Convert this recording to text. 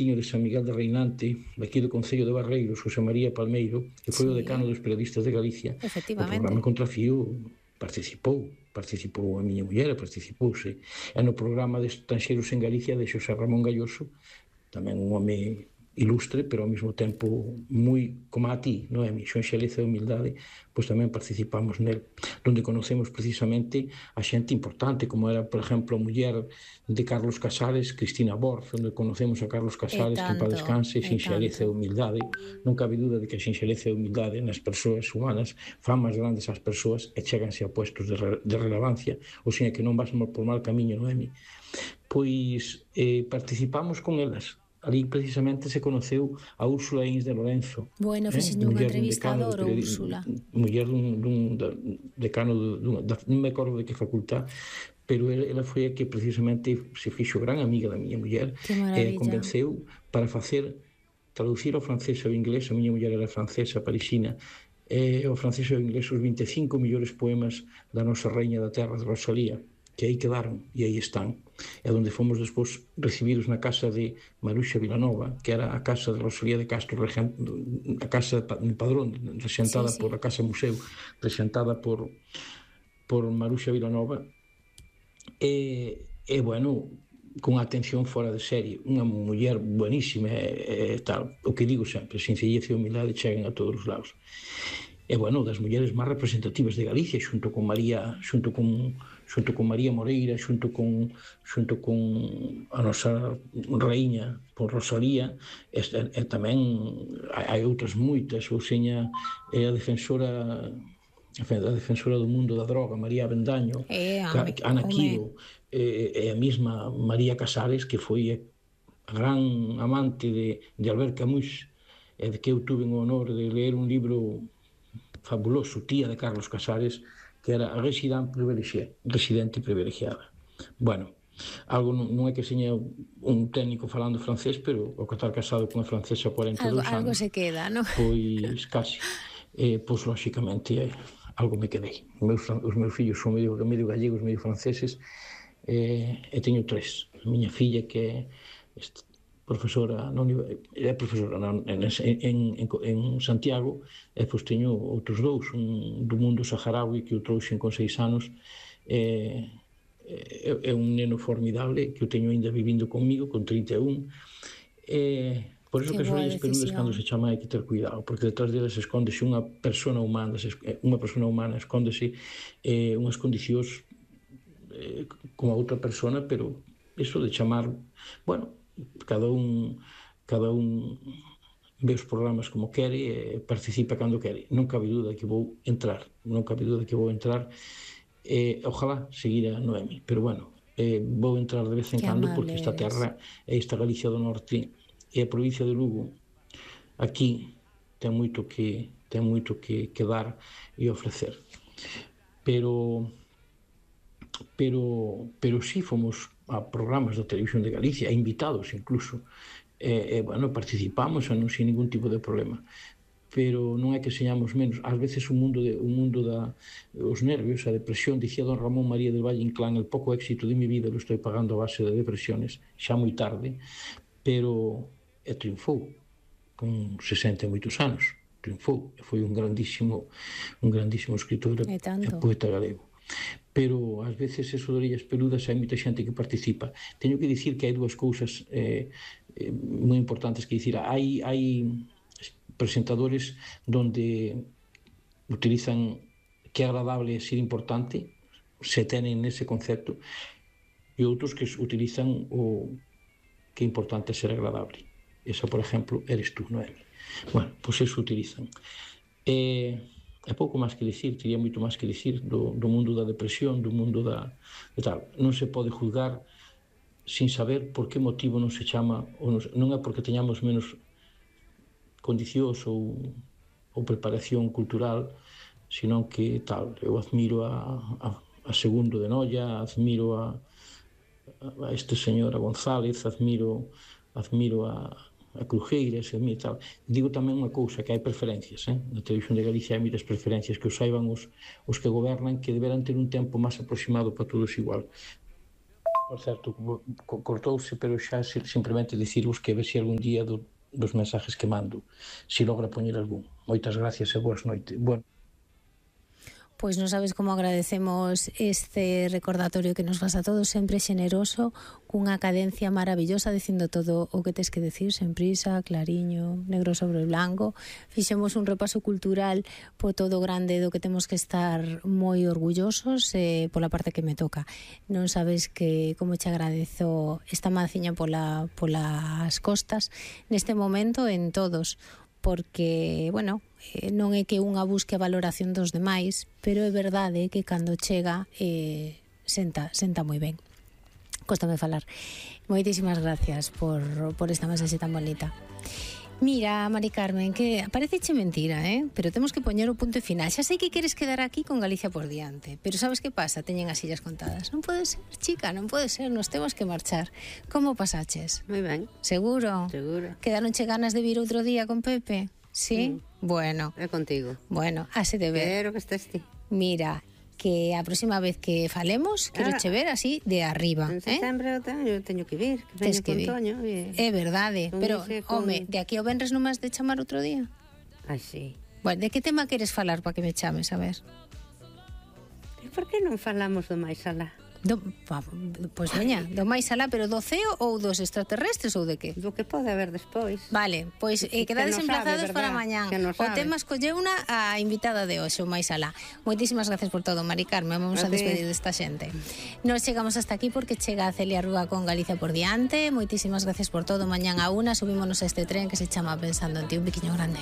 tiño de San Miguel de Reinante, daqui do Concello de Barreiros, José María Palmeiro, que foi o decano Sí, dos periodistas de Galicia, o programa efectivamente. Contrafío participou a miña muller, participouse. E no programa de Estranxeiros en Galicia de Xosé Ramón Galloso, tamén un home ilustre, pero ao mesmo tempo moi como a ti, Noemi, xonxeleza e humildade, pois tamén participamos nel, donde conocemos precisamente a xente importante, como era, por exemplo, a muller de Carlos Casares, Cristina Borz, onde conocemos a Carlos Casares, que en paz descanse, E xenxeleza tanto. e humildade. Non cabe dúda de que a xenxeleza e a humildade nas persoas humanas fan máis grandes as persoas e cheganse a puestos de relevancia, ou seja, que non vas por mal camiño, Noemi. Pois participamos con elas. Ali precisamente se conoceu a Úrsula Ins de Lorenzo, Bueno, fixenlle unha muller dun entrevista decano adoro, Úrsula. muller dun decano non me acordo de que facultad, pero ela foi a que precisamente se fixo gran amiga da miña muller Que e maravilla. convenceu para traducir ao francés e ao inglés. A miña muller era francesa, parisina, ao francés e ao inglés os 25 millores poemas da nosa Reina da Terra, de Rosalía, que aí quedaron e aí están. É onde fomos despois recibidos na casa de Maruxa Vilanova, que era a casa de Rosalía de Castro, a casa de Padrón, Sí, resentada por a sí. Casa Museo, resentada por Maruxa Vilanova, bueno, con atención fora de serie, unha muller buenísima e tal. O que digo sempre, sencillez e humildade chegan a todos os lados. E bueno, das mulleres máis representativas de Galicia, xunto con María Moreira, xunto con a nosa raíña, por Rosalía, e tamén hai outras moitas, ou seña a defensora do mundo da droga, María Avendaño, Ana Home, Quiro, e a mesma María Casares, que foi a gran amante de Albert Camus, e de que eu tuve o honor de ler un libro fabuloso, tía de Carlos Casares, que era residente privilexiada. Bueno, algo non é que seña un técnico falando francés, pero o que estar casado con unha francesa 42 algo anos, se queda, ¿no? pois casi. Pois, lóxicamente, algo me quedei. Os meus fillos son medio gallegos, medio franceses, e teño 3. A miña filla, que é profesora en Santiago, e pois teño outros 2, un do mundo saharaui que o trouxen con 6 anos, é un neno formidable que o teño ainda vivindo comigo con 31, por iso Qué que as boa orellas peludas cando se decisión. chama hai que ter cuidado, porque detrás delas escóndese unha persona humana, escóndese unhas condicións como a outra persona, pero iso de chamar, bueno, cada un ve os programas como quere e participa cando quere. Non cabe dúda que vou entrar, ojalá seguir a Noemi, pero bueno, vou entrar de vez en Qué cando, porque amable esta eres. terra e esta Galicia do Norte e a provincia de Lugo aquí ten moito que dar e ofrecer, pero sí fomos a programas da Televisión de Galicia, a invitados incluso, bueno, participamos e non sin ningún tipo de problema, pero non é que señamos menos. Ás veces o mundo os nervios, a depresión, dicía don Ramón María del Valle Inclán, el pouco éxito de mi vida lo estoy pagando a base de depresiones, xa moi tarde, pero triunfou con 60 e moitos anos, triunfou, e foi un grandísimo escritor E e tanto. poeta galego. Pero ás veces eso de orellas peludas hai moita xente que participa. Teño que dicir que hai dúas cousas moi importantes, que dicir, hai presentadores donde utilizan que é agradable ser importante, se tenen ese concepto, e outros que utilizan o que é importante ser agradable. Esa, por exemplo, eres tú, Noemi. Bueno, pois eso utilizan. É pouco máis que dicir, teria moito máis que dicir do mundo da depresión, do mundo da tal. Non se pode juzgar sin saber por que motivo non se chama, non é porque teñamos menos condicións ou preparación cultural, senón que tal. Eu admiro a Segundo de Noia, admiro a este señor, a González, admiro a Crujeiras, e tal. Digo tamén unha cousa, que hai preferencias, na Televisión de Galicia hai moitas preferencias, que o saiban os que gobernan, que deberán ter un tempo máis aproximado para todos igual. Por certo, cortouse, pero xa simplemente dicirvos que a ver se algún día dos mensajes que mando se logra poñer algún. Moitas gracias e boas noites. Bueno. Pois non sabes como agradecemos este recordatorio que nos faz a todos, sempre xeneroso, cunha cadencia maravillosa, dicindo todo o que tes que decir, sen prisa, clariño, negro sobre blanco. Fixemos un repaso cultural po todo grande do que temos que estar moi orgullosos pola parte que me toca. Non sabes que como te agradezo esta manciña polas costas neste momento en todos, porque, bueno, non é que unha busque a valoración dos demais, pero é verdade que cando chega senta moi ben. Cóstame falar. Moitísimas gracias por esta mensaxe tan bonita. Mira, Mari Carmen, que pareceche mentira, pero temos que poñer o punto e final. Xa sei que queres quedar aquí con Galicia por diante, pero sabes que pasa? Teñen as sillas contadas. Non pode ser, chica, non pode ser, nos temos que marchar. Como pasaches? Moi ben. Seguro? Seguro. Quedaronche ganas de vir outro día con Pepe? Sí? Bueno. É contigo. Bueno, hase de ver. Pero que estés ti. Mira, que a próxima vez que falemos, quero che ver así de arriba. En setembro eu teño que vir, que veño con Toño. É verdade, pero, home, de aquí ao venres non me has de chamar outro día? Ai, sí. Bueno, de que tema queres falar para que me chames, a ver? E por que non falamos do máis alá? Pois veña, do máis alá, pero do ceo ou dos extraterrestres ou de que? Do que pode haber despois. Vale, pois quedades emplazados para mañán. O tema escolleuna a invitada de hoxe, o máis alá. Moitísimas gracias por todo, Mari Carmen. Vamos a despedir desta xente. Nos chegamos hasta aquí porque chega a Celia Rúa con Galicia por diante. Moitísimas gracias por todo. Mañán a 1 subímonos a este tren que se chama Pensando en ti. Un biquiño grande.